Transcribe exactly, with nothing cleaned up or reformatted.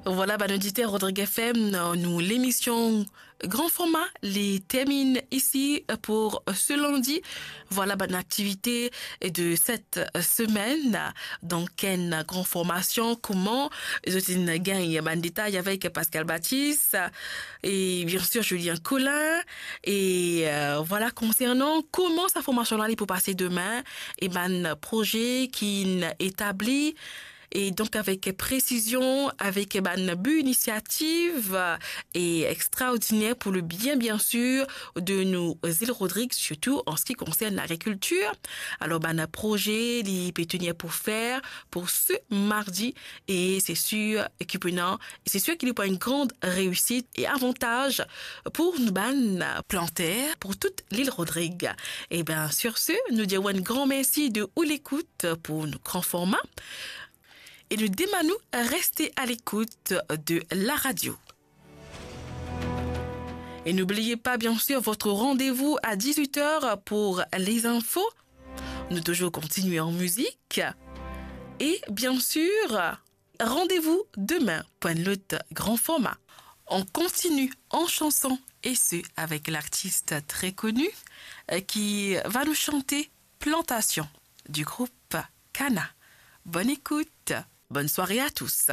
Voilà, bann oditer Rodrigue F M, nou lemision Grand Format li termine ici pour ce lundi. Voilà bann aktivite de cette semaine. Donk, enn gran formasion, kouma zot inn gagn bann detay avek Pascal Baptiste et bien sûr Julien Collin. Et euh, voilà, concernant kouma sa formasion la li pou pase demin, e bann proze ki'nn etabli, e donk avek presizion, avek bann bi inisiativ e extraordiner pour le bien, bien sûr, de nou zil Rodrig, sirtou an se ki konsern lagrikiltir. Alor, bann proze li pe tenir pou fer pour ce mardi, e se sir ki pou ena, se sir ki li pou enn gran reisit e avantaz pour nou bann planter, pour tout lil Rodrig. E bien, sur ce, nou dir enn gran mersi de ou lekout pour nou Grand Format. E nou demann ou reste à l'écoute de la radio. Et n'oubliez pas, bien sûr, votre rendez-vous à dix-huit heures pour les infos. Nous toujours continuer en musique. Et bien sûr, rendez-vous demain pour un autre Grand Format. On continue en chanson, et ce avec l'artiste très connu, euh, qui va nous chanter Plantation du groupe Kana. Bonne écoute, bonne soirée à tous.